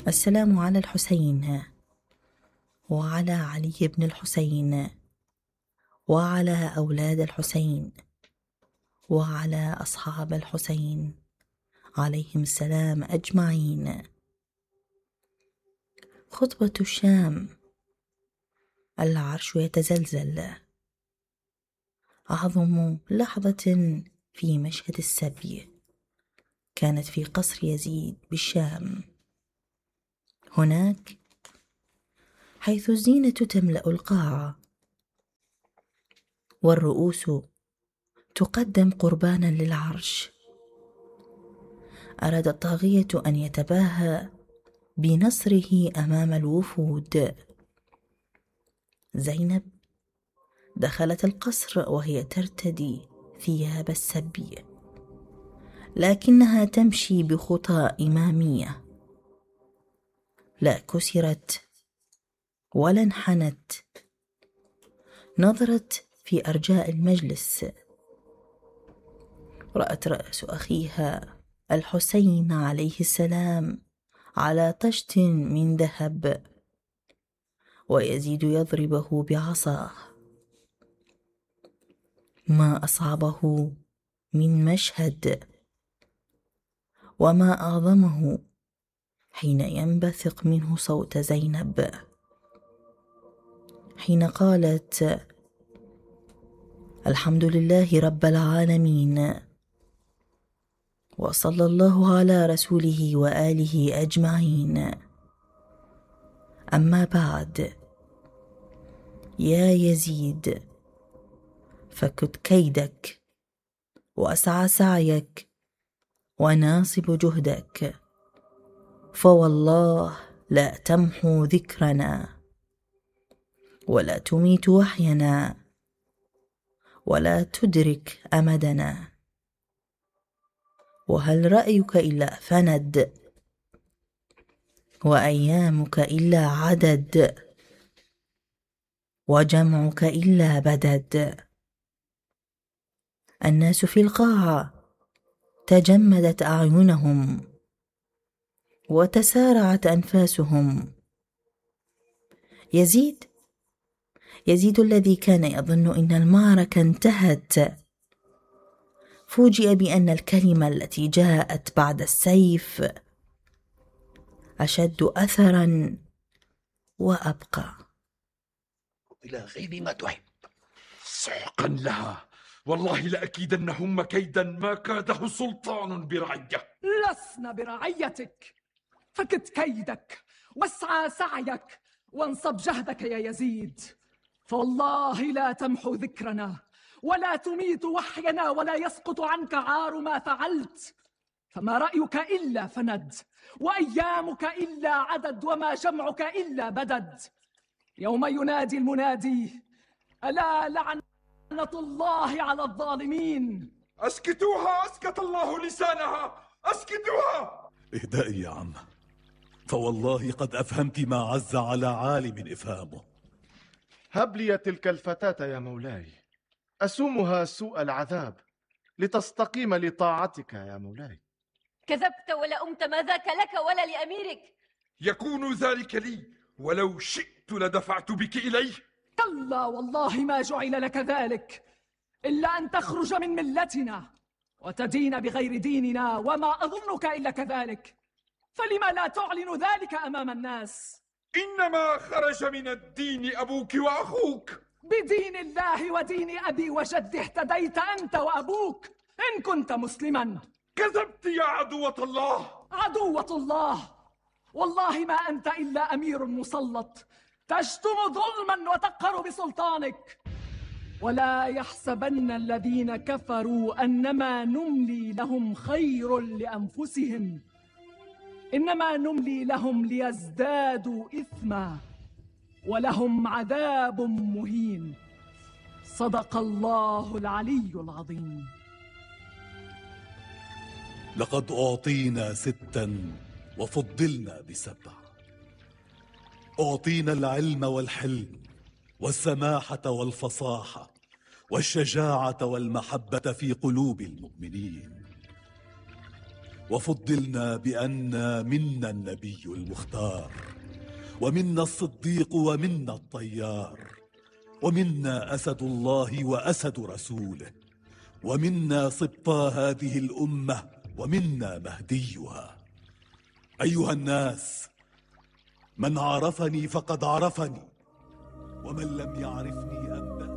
السلام على الحسين وعلى علي بن الحسين وعلى أولاد الحسين وعلى أصحاب الحسين عليهم السلام أجمعين. خطبة الشام. العرش يتزلزل. أعظم لحظة في مشهد السبي كانت في قصر يزيد بالشام، هناك حيث الزينة تملأ القاعة والرؤوس تقدم قربانا للعرش. أراد الطاغية أن يتباهى بنصره أمام الوفود. زينب دخلت القصر وهي ترتدي ثياب السبي، لكنها تمشي بخطى إمامية، لا كسرت ولا انحنت. نظرت في أرجاء المجلس، رأت رأس أخيها الحسين عليه السلام على طشت من ذهب، ويزيد يضربه بعصاه. ما أصعبه من مشهد وما أعظمه حين ينبثق منه صوت زينب حين قالت: الحمد لله رب العالمين، وصلى الله على رسوله وآله أجمعين. أما بعد، يا يزيد، فكد كيدك وأسعى سعيك وناصب جهدك، فوالله لا تمحو ذكرنا ولا تميت وحينا ولا تدرك أمدنا. وهل رأيك إلا فند، وأيامك إلا عدد، وجمعك إلا بدد. الناس في القاعة تجمدت أعينهم وتسارعت أنفاسهم. يزيد الذي كان يظن إن المعركة انتهت، فوجئ بأن الكلمة التي جاءت بعد السيف أشد أثرا وأبقى. إلى غير ما تحب. سحقا لها، والله لأكيدنهم كيدا ما كاده سلطان برعية. لسنا برعيتك، فكد كيدك واسعى سعيك وانصب جهدك يا يزيد، فوالله لا تمحو ذكرنا ولا تميت وحينا ولا يسقط عنك عار ما فعلت. فما رأيك إلا فند، وأيامك إلا عدد، وما جمعك إلا بدد. يوم ينادي المنادي: ألا لعنة الله على الظالمين. أسكتوها، أسكت الله لسانها، أسكتوها. اهدئي يا عم، فوالله قد أفهمت ما عز على عالم إفهامه. هب لي تلك الفتاة يا مولاي، أسومها سوء العذاب لتستقيم لطاعتك يا مولاي. كذبت ولا أمت، ما ذاك لك ولا لأميرك. يكون ذلك لي، ولو شئت لدفعت بك إليه. كلا والله ما جعل لك ذلك، إلا أن تخرج من ملتنا وتدين بغير ديننا، وما أظنك إلا كذلك. فلما لا تعلن ذلك أمام الناس؟ إنما خرج من الدين أبوك وأخوك. بدين الله ودين أبي وجدي اهتديت أنت وأبوك إن كنت مسلما. كذبت يا عدوة الله. عدوة الله؟ والله ما أنت إلا أمير مسلط تشتم ظلما وتقهر بسلطانك. ولا يحسبن الذين كفروا أنما نملي لهم خير لأنفسهم، إنما نملي لهم ليزدادوا إثما ولهم عذاب مهين. صدق الله العلي العظيم. لقد أعطينا 6 وفضلنا ب7. أعطينا العلم والحلم والسماحة والفصاحة والشجاعة والمحبة في قلوب المؤمنين. وفضلنا بأن منا النبي المختار، ومنا الصديق، ومنا الطيار، ومنا أسد الله وأسد رسوله، ومنا سبطى هذه الأمة، ومنا مهديها. أيها الناس، من عرفني فقد عرفني، ومن لم يعرفني